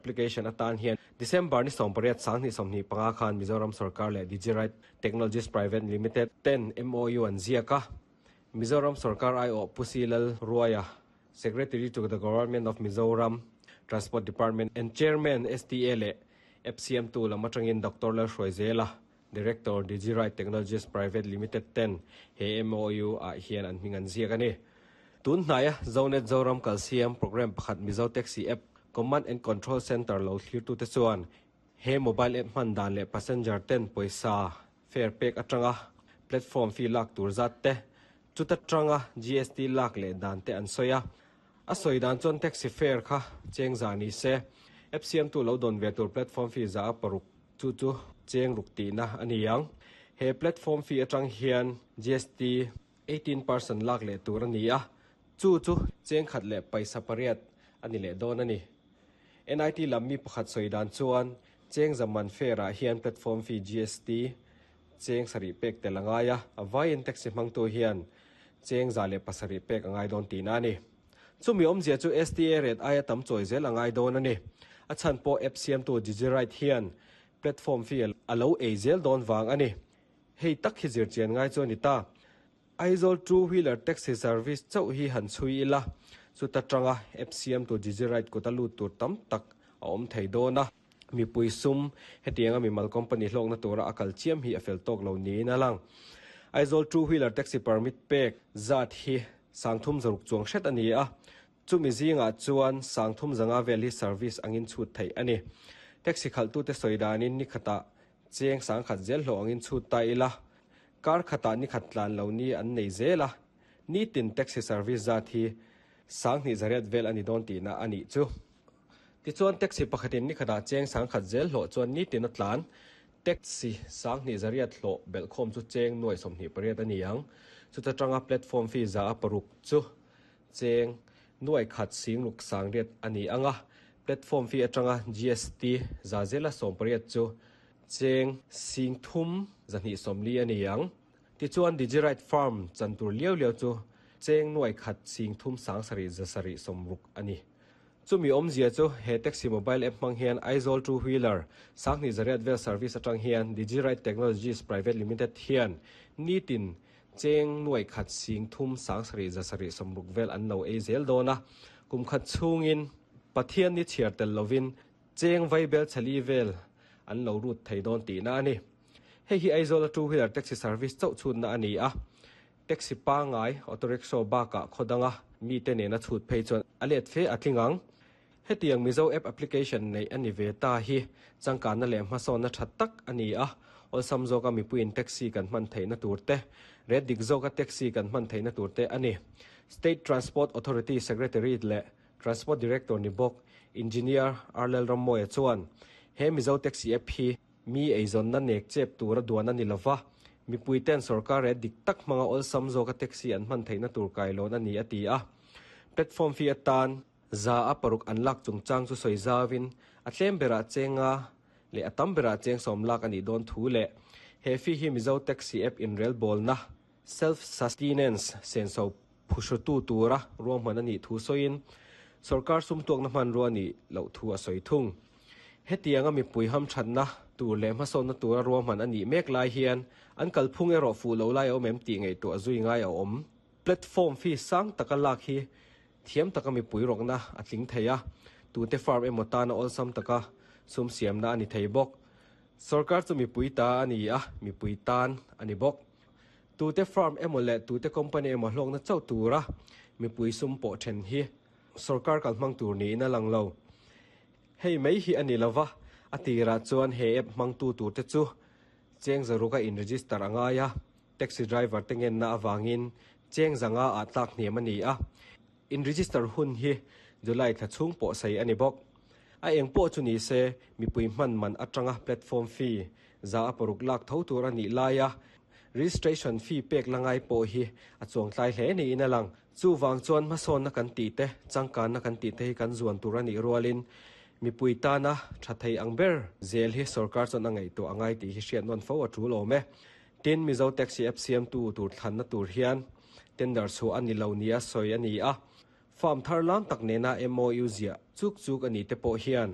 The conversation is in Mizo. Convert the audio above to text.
Application atan hian December ni 18 2025 khan Mizoram Sorkar leh Digiride Technologies Private Limited ten MOU an ziak a. Mizoram Sorkar aiawh Pu C Lalruaia, Secretary to the Government of Mizoram, Transport Department and Chairman STA leh app siamtu lam atangin Doctor Lalhruaizela, Director Digiride Technologies Private Limited ten he MOU ah hian an hming an ziak a ni. Tun hnaia Zonet Zoram Kalsiam Programme pakhat Mizo Taxi App Command and Control Centre lo thlirtute chuan he mobile app hman dan leh passenger ten pawisa fare pek atanga platform fee lak tur zat te, chuta tanga GST lak leh dan te an sawi a. A sawi dan chuan taxi fare kha cheng za ni se, app siamtu lo dawn ve tur platform fee za a paruk Chu chu cheng ruk tihna a ni ang. He platform fee atang hian GST 18% lak leh tur a ni a, chu chu cheng khat leh paisa pariat a ni leh dawn a ni. NIT lam mi pakhat sawi dan chuan cheng zaman fare ah hian platform fee GST cheng sarih pek tel a ngai a, a vaiin taxi hmangtu hian cheng 107 pek a ngai dawn tihna a ni. Chumi awmzia chu STA rate aia tam chawi zel a ngai dawn a ni. A chhan pawh app siamtu Digiride hian platform fee a lo ei zel dawn vang a ni. Hei tak hi zirchian ngai chu a ni ta. Aizawl two wheeler taxi service chauh hi han chhui ila, chuta tanga app siamtu Digiride kut a lut tur tam tak a awm thei dawn a. Mipui sum hetianga mimal company hlawkna tura a kal chiam hi a fel tawk lo niin a lang. Aizawl two wheeler taxi permit pek zat hi 300 chuang hret a ni a, chumi zingah chuan 350 vel hi service angin chhut theih a ni. Taxi khalhtute sawi danin ni khatah cheng 10,000 zel hlawh angin chhut ta ila, kar khatah ni khat tlan lo ni an nei zel a, nitin taxi service zat hi 2800 vel a ni dawn tihna a nih chu. Tichuan taxi pakhatin ni khatah cheng 10,000 zel hlawh chuan nitin a tlan. Taxi 2800 hlawh belhkhawm chu cheng 28,000 a ni ang. Chuta tanga platform fee 6% chu cheng 1,608 a ni ang a. Platform fee atanga GST 80% chu cheng 3,240 a ni ang. Tichuan Digiride Farm chan tur liau liau chu cheng 1,370,760 a ni. Chumi awmzia chu he taxi mobile app hmang hian Aizawl two wheeler 2800 vel service atang hian Digiride Technologies Private Limited hian nitin cheng 1,370,760 vel an lo ei zel dawn a. Kum khat chhungin Pathian ni chhiar tel lovin cheng vaibel chali vel an lo rut thei dawn tihna a ni. Hei hi Aizawl a two wheeler taxi service chauh chhutna a ni a. Taxi pangngai, auto rickshaw bakah khaw danga mite nena chhut phei chuan a let fe a tling ang. Hetiang Mizo app application neih a ni ve ta hi changkanna leh hmasawnna tha tak a ni a, awlsam zawka mipuiin taxi kan hman theihna tur te, rate dik zawka taxi kan hman theihna tur te a ni. State Transport Authority Secretary leh Transport Director ni bawk Engineer R Lalrammawia chuan he Mizo Taxi app hi Mi eizawnna nek chep tura duan a ni lova, mipuiten sorkar rate dik tak hmanga awlsam zawka taxi an hman theihna tur kailawn a ni a ti a. Platform fee atan 6% an lak chungchang chu sawi zauin a tlem berah chenga leh a tam berah cheng 10 lak a nih dawn thu leh he fee hi Mizo Taxi app inrelbawlna self-sustenance senso phuhrutu tura ruahman a nih thu sawiin sorkar sum tuakna hmanrua a nih loh thu a sawi thung. Hetianga mipui hamthatna tur leh hmasawnna tura ruahman a nih mek lai hian an kalphung erawh fuh lo lai a awm em tih ngaihtuah zui ngai a awm. Platform fee sang taka lak hi thiam taka mipui rawkna a tling thei a, tute farm emaw tana awlsam taka sum siamna a ni thei bawk. Sorkar chu mipui ta a ni a, mipui tan a ni bawk. Tute farm emaw leh tute company emaw hlawkna chauh tura mipui sum pawh then hi sorkar kalhmang tur niin a lang lo. Hei mai hi a ni lova, a tirah chuan he app hmangtu turte chu cheng zaruka in register a ngai a, taxi driver te ngenna avangin cheng zanga ah tlak hniam a ni a, in register hun hi July thla chhung pawh sei a ni bawk. A eng pawh chu ni se, mipui hman man atanga platform fee 6% lak tho tur a nih laia registration fee pek la ngai pawh hi a chuangtlai hle niin a lang. Chuvang chuan hmasawnna kan tih te, changkanna kan tih te hi kan zuan tur a nih rualin mipui tana tha thei ang ber zel hi sorkar chuan a ngaihtuah a ngai tih hi hriat nawn fo a tul awm e. Tin, Mizo Taxi app siamtu tur thlanna tur hian tender chhuah a ni lo nia sawi a ni a. Farm thar lam tak nena MOU ziah chuk chuk a ni te pawh hian.